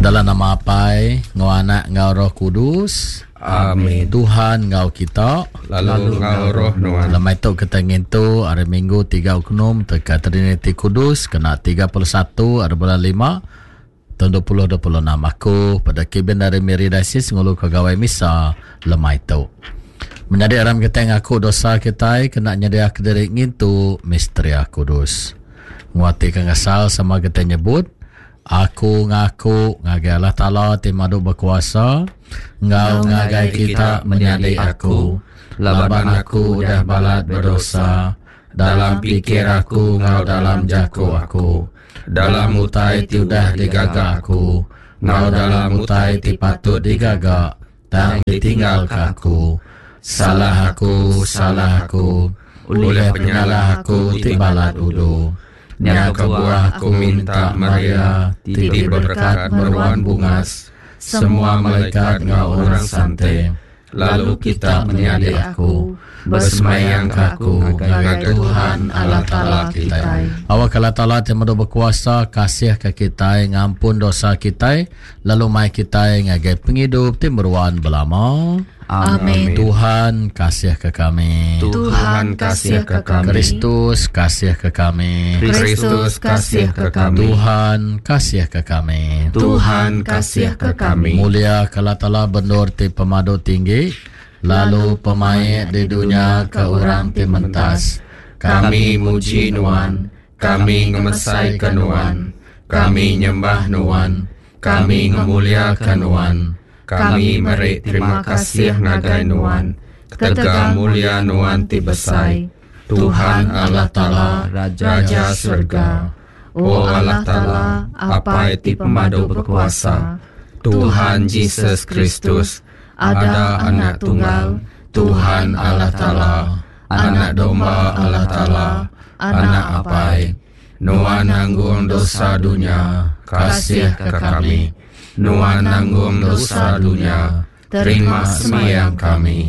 Dalam nama Apai, enggau Anak, enggau Roh Kudus. Amin. Tuhan enggau kita. Lalu enggau roh nuan. Lemai tu kita ngintu hari Minggu 3 Oknum teka Triniti Kudus kena 31 hari bulan 5 tahun 2026. Aku pada Kibin dari Miri Diocese ngulu ke gawai misa lemai tu. Menyadi aram kita ngaku dosa kita kena nyedia ke diri ngintu misteria kudus. Nguati ke ngesal sama kita nyebut Aku ngaku ngagai Allah Taala ti madu bekuasa, enggau ngagai kita menyadi aku, laban aku udah balat bedosa dalam pikir aku enggau dalam jaku aku, dalam utai ti udah digaga aku, enggau dalam utai ti patut digaga tang ditinggalka aku. Salah aku, salah aku, ulih penyalah aku ti balat udu. Nya kebuah aku minta Maria ti diberekat meruan bungas, semua malaikat enggau orang sante, lalu kita menyadi aku, besemayangka aku ngagai Tuhan Allah Taala kitai. Awakka Allah Taala ti medu bekuasa kasihka kitai, ngampun dosa kitai, lalu mai kitai ngagai pengidup ti meruan belama. Amin. Tuhan kasihka kami. Tuhan kasihka kami. Kristus kasihka kami. Kristus kasihka kami. Tuhan kasihka kami. Tuhan kasihka kami. Mulia ke Allah Taala bendur ti pemadu tinggi, lalu pemaik di dunya ke orang ti mentas. Kami muji Nuan, kami ngemesaika Nuan, kami nyembah Nuan, kami ngemuliaka Nuan. Kami meri terima kasih ngagai Nuan ketegal mulia Nuan ti besai, Tuhan Allah Taala, Raja serega. O Allah Taala, Apai ti pemadu bekuasa, Tuhan Jesus Kristus, ada Anak Tunggal, Tuhan Allah Taala, Anak Domba Allah Taala, Anak Apai, Nuan nanggung dosa dunya, kasihka kami. Nuan nanggung dosa dunya, terima sembiang kami.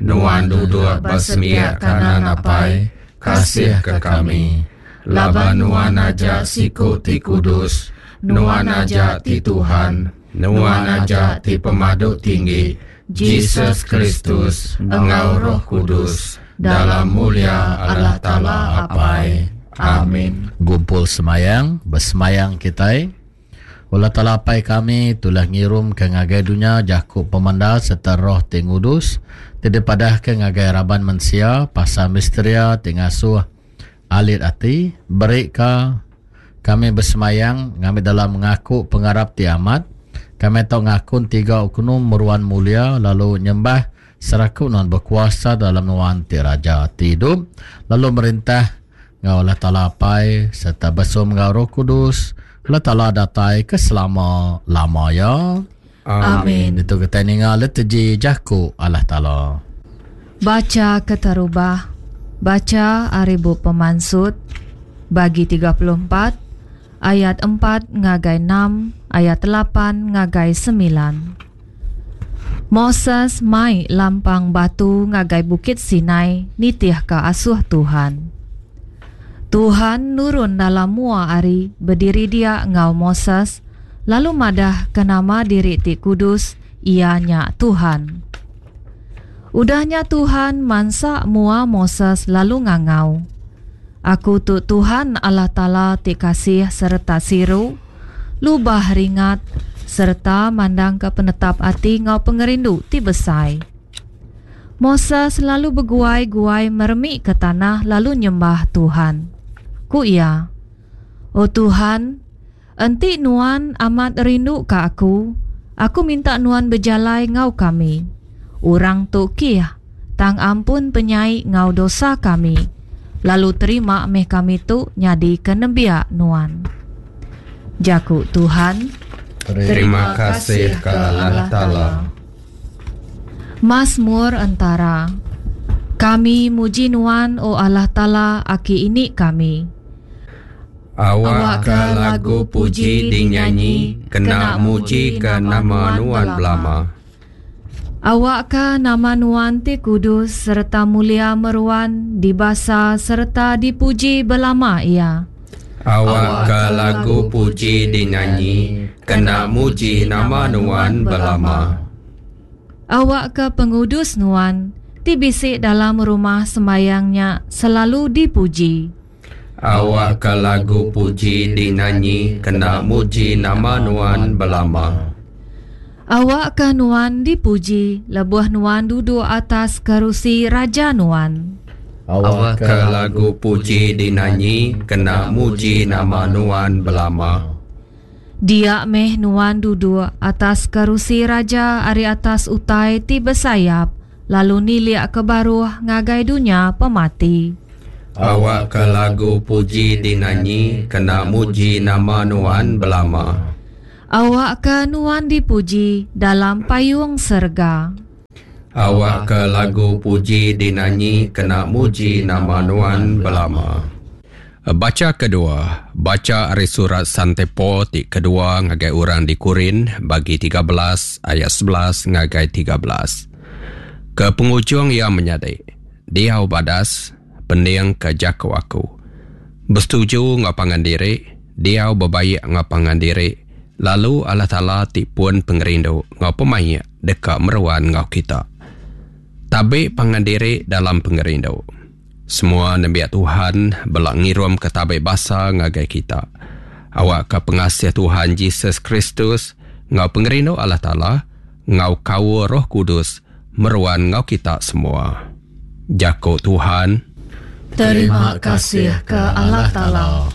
Nuan duduk ba sepiak kanan Apai, kasihka kami. Laban Nuan aja siku ti kudus, Nuan aja ti Tuhan, Nuan aja ti Pemadu Tinggi, Jesus Kristus, enggau Roh Kudus, dalam mulia Allah Taala Apai. Amin. Gumpul semayang, besemayang kitai. Allah Taala Apai kami, tulah ngirumka ngagai dunya jaku pemendar sereta roh ti ngudus ti dipadahka ngagai raban mensia pasal misteria ti ngasuh alit ati, berika kami besemayang ngambi dalam ngaku pengarap ti amat, kami tau ngakun tiga oknum meruan mulia lalu nyembah serakup nuan bekuasa dalam nuan ti Raja ti idup lalu merintah enggau Allah Taala Apai sereta besum enggau Roh Kudus, Allah Taala datai ke selama lama iya. Amin. Ditu kitai ninga liturgi jaku Allah Taala. Bacha keterubah. Bacha ari Bup Pemansut, bagi 34, ayat 4 ngagai 6, ayat 8 ngagai 9. Moses mai lampang batu ngagai Bukit Sinai nitihka asuh Tuhan. Tuhan nurun dalam mua ari bediri dia enggau Moses lalu madahka nama diri ti kudus, Iya nya Tuhan. Udah nya Tuhan mansa mua Moses lalu ngangau, Aku tu Tuhan Allah Taala ti kasih sereta siru, lubah ringat, sereta mandangka penetap ati enggau pengerindu ti besai. Moses lalu beguai-guai meremika tanah lalu nyembah Tuhan. Ku iya, O Tuhan, enti Nuan amat rinduka aku, aku minta Nuan bejalai enggau kami. Orang tu kih, tang ampun penyai enggau dosa kami, lalu terima meh kami tu nyadika nembiak Nuan. Jaku Tuhan. Terima kasih ke Allah Taala. Masmur entara. Kami muji Nuan, O Allah Taala aki ini kami. Awakka lagu puji dinyanyi kena mujika nama Nuan belama. Awakka nama Nuan ti kudus sereta mulia meruan dibasa sereta dipuji belama iya. Awakka lagu puji dinyanyi kena muji nama Nuan belama. Awakka pengudus Nuan ti bisi dalam rumah sembayang nya selalu dipuji. Awakka lagu puji dinyanyi kena muji nama Nuan belama. Awakka Nuan dipuji lebuh Nuan duduk atas kerusi raja Nuan. Awakka lagu puji dinanyi kena muji nama Nuan belama. Dia meh Nuan duduk atas kerusi raja ari atas utai ti besayap, lalu nilik ke baruh ngagai dunya pemati. Awakka lagu puji dinanyi kena muji nama Nuan belama. Awakka Nuan dipuji dalam payung serega. Awakka lagu puji dinanyi kena muji nama Nuan belama. Bacha kedua, Bacha ari surat Sante Paul ti kedua ngagai orang di Korin, bagi 13 ayat 11 ngagai 13. Ke pengujung iya menyadi, diau badas, pendingka jaku aku. Besetuju enggau pangan diri, diau bebaik enggau pangan diri, lalu Allah Taala ti pun pengerindu enggau pemaik deka meruan enggau kita. Tabi pangan diri dalam pengerindu. Semua nembiak Tuhan bela ngirumka tabi basa ngagai kita. Awakka pengasih Tuhan Jesus Kristus enggau pengerindu Allah Taala enggau kaul Roh Kudus meruan enggau kita semua. Jaku Tuhan. Terima kasih ke Allah Taala.